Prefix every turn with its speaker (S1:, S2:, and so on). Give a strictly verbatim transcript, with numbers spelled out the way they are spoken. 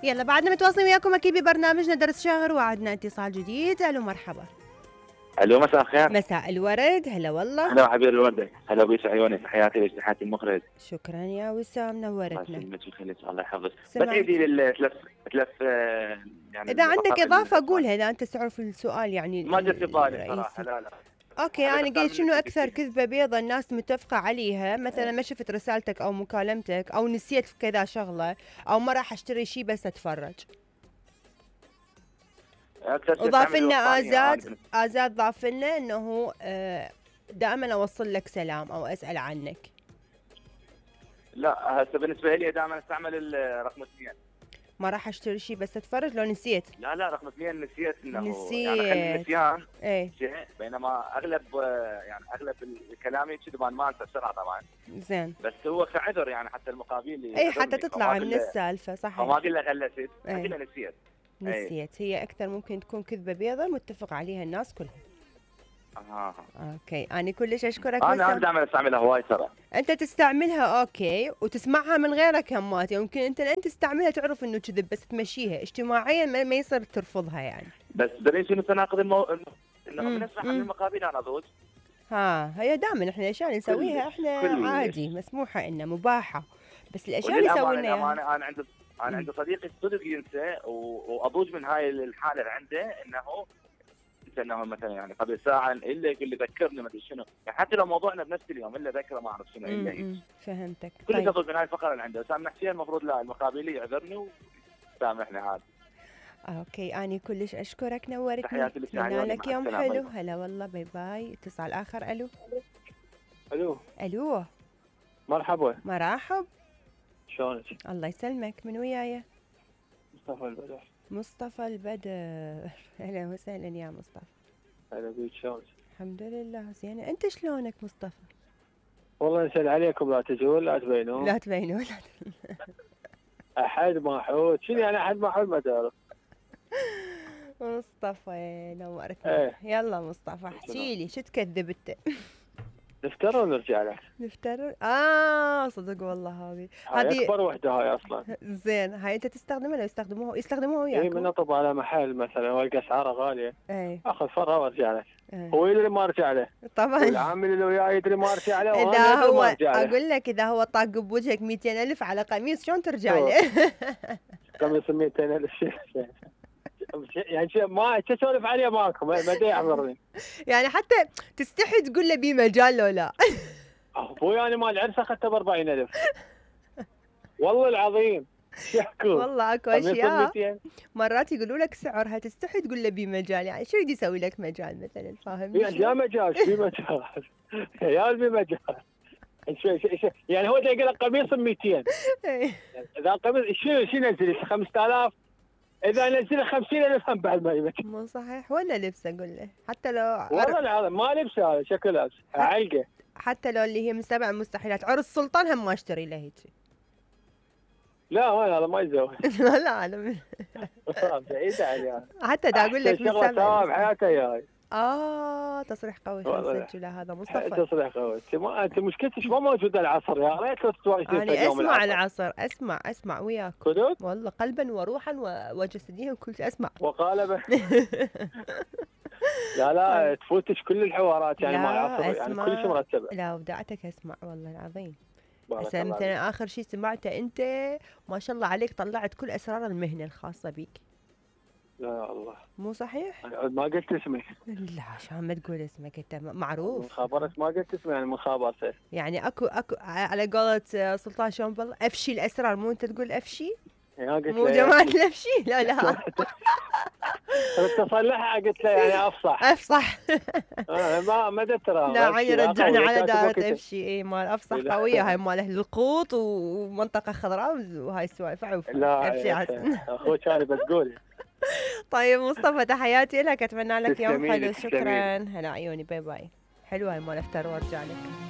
S1: يلا بعدنا متواصلين وياكم اكيد ببرنامجنا درس شهر، وعدنا اتصال جديد. الو مرحبا.
S2: الو مساء الخير.
S1: مساء الورد. هلا والله.
S2: هلا حبيب الورده. هلا بيس عيوني، تحياتي لك، تحياتي المخرج.
S1: شكرا يا وسام، نورتنا.
S2: الله يسلمك ويخليك، الله يحفظك.
S1: سمعت.
S2: بتعيدي للثلاث ثلاث يعني
S1: اذا عندك اضافه قولها، اذا انت تعرف السؤال يعني
S2: ما جت في بالي صراحه. لا لا
S1: اوكي. انا قلت شنو اكثر كذبه بيضة الناس متفقه عليها، مثلا ما شفت رسالتك او مكالمتك او نسيت في كذا شغله او ما راح اشتري شيء بس اتفرج. وضاف لنا ازاد ازاد ضاف لنا انه دائما اوصل لك سلام او اسال عنك.
S2: لا هسه بالنسبه لي دائما استعمل الرقم اثنين.
S1: ما راح اشتري شيء بس اتفرج لو نسيت.
S2: لا لا رقم اثنين نسيت انه
S1: نسيت.
S2: يعني خلي النسيان
S1: ايه
S2: شيء، بينما اغلب يعني اغلب كلامي كذي ما انسى بسرعه طبعا.
S1: زين.
S2: بس هو كعذر يعني حتى المقابل
S1: اي حتى تطلع من السالفه. صحيح.
S2: ما اقول له غلست، اقول له نسيت.
S1: نسيت هي اكثر ممكن تكون كذبه بيضة متفق عليها الناس كلها.
S2: اها
S1: اوكي. انا كلش اشكرك.
S2: انا دائما استعملها هواي ترى.
S1: انت تستعملها اوكي وتسمعها من غيرك همات، يمكن انت انت تستعملها تعرف انه كذب بس تمشيها اجتماعيا ما, ما يصير ترفضها يعني.
S2: بس دري شنو تناقض المو... انه من نسمع عن المقابل انا ضوج.
S1: ها هي دائما احنا الاشياء اللي نسويها احنا كل عادي مسموحه انه مباحه، بس الاشياء اللي سويناها
S2: انا انا عندي انا عندي صديقي صدق ينسى واضوج من هاي الحاله اللي عنده انه انه مثلا يعني قبل ساعه الا يقول لي ذكرني ما ادري شنو، يعني حتى لو موضوعنا بنفس اليوم الا ذكره ما اعرف شنو الا هيك.
S1: فهمتك.
S2: كل
S1: طيب.
S2: تضل من هاي الفقره اللي عنده، سامحتي المفروض لا المقابلي يعذرني وسامحني عادي.
S1: اوكي انا كلش اشكرك، نورتني.
S2: تحياتي لك.
S1: لك يوم حلو. هلا والله. باي باي. اتصال اخر. الو
S3: الو
S1: الو
S3: مرحبا.
S1: مرحب.
S3: شلونك؟
S1: الله يسلمك. من وياي؟
S3: مصطفى البدر.
S1: مصطفى البدر. اهلا وسهلا يا مصطفى.
S3: هلا بيك، شلونك؟
S1: الحمد لله زين. انت شلونك مصطفى؟
S3: والله نسأل عليكم لا تجون لا تبينون.
S1: لا تبينون.
S3: احد ما حوت. شنو يعني احد ما حوت؟ ما تعرف.
S1: مصطفى نورتنا. ايه. يلا مصطفى احكي لي شو تكذب انت؟
S3: نفترض ونرجع له.
S1: نفترض. اه صدق والله هذه
S3: هذه اكبر وحده هاي اصلا.
S1: زين. هاي انت تستخدمها لو يستخدموها يستخدموها وياك؟
S3: اي من اطب على محل مثلا والقى اسعاره غاليه.
S1: اي
S3: اخذ فرها وارجع له. هو يدري ما ارجع له
S1: طبعا.
S3: والعامل اللي وياه يدري ما ارجع له.
S1: اذا هو اقول لك اذا هو طاق بوجهك مئتين ألف على قميص شلون ترجع له؟
S3: قميص مئتين ألف يعني شيء ما تسولف عليه ماكو ما يحضرني.
S1: يعني حتى تستحي تقول له بي مجال لو لا.
S3: ابوي انا مال العرس اخذته ب أربعين ألف والله العظيم. يحكوا
S1: والله اكو اشياء مرات يقولوا لك سعرها تستحي تقول له بي مجال، يعني شو يدي يسوي لك مجال مثلا؟ فاهم؟
S3: يعني لا مجال في مجال يا في مجال يعني هو يقول لك قميص ب مئتين اذا قميص شنو شنو ينزل خمسة آلاف اذا نزل خمسين ألف هم بعد ما يمكن.
S1: مو صحيح ولا لبسه قول له حتى لو
S3: والله العظيم ما لبسه هذا شكل لابس علقه.
S1: حتى لو اللي هي من سبع مستحيلات عرس سلطان هم ما اشتري له هيك.
S3: لا هو هذا ما يزوج.
S1: لا لا انا
S3: بعيد عليه.
S1: حتى دا اقول لك من
S3: سبع شغله بحياته ياي.
S1: اه تصريح قوي نسجله هذا مصطفى.
S3: تصريح قوي. انت ما انت مشكلتك ما موجوده العصر يا ريت لو تتواجدين
S1: في اليوم اسمع العصر. العصر اسمع اسمع وياك
S3: كذب
S1: والله قلبا وروحا وجسديا وكل شيء اسمع
S3: وقالبه. لا لا تفوتش كل الحوارات يعني مع العصر يعني كل شيء مرتبه.
S1: لا ودعتك اسمع والله العظيم. هسه مثلا اخر شيء سمعته انت ما شاء الله عليك طلعت كل اسرار المهنه الخاصه بيك.
S3: لا يا الله
S1: مو صحيح؟
S3: انا ما قلت اسمي.
S1: لا عشان ما تقول اسمك انت معروف.
S3: من خابرت ما قلت اسمي يعني من خابرته.
S1: يعني اكو اكو على قولة سلطان شلون بالله افشي الاسرار مو انت تقول افشي؟ مو جماعة الافشي لا لا.
S3: تصلحها قلت له يعني افصح.
S1: افصح.
S3: ما ما ترى.
S1: لا عيني رجعنا على دارة افشي اي مال افصح قوية هاي مال اهل القوط ومنطقة خضراء وهاي السوالف عوف.
S3: لا افشي عسل. اخوك انا بتقول.
S1: طيب مصطفى تحياتي لك اتمنى لك يوم حلو. شكرا. هلا عيوني باي باي. حلوه هاي مال افتر وارجع لك.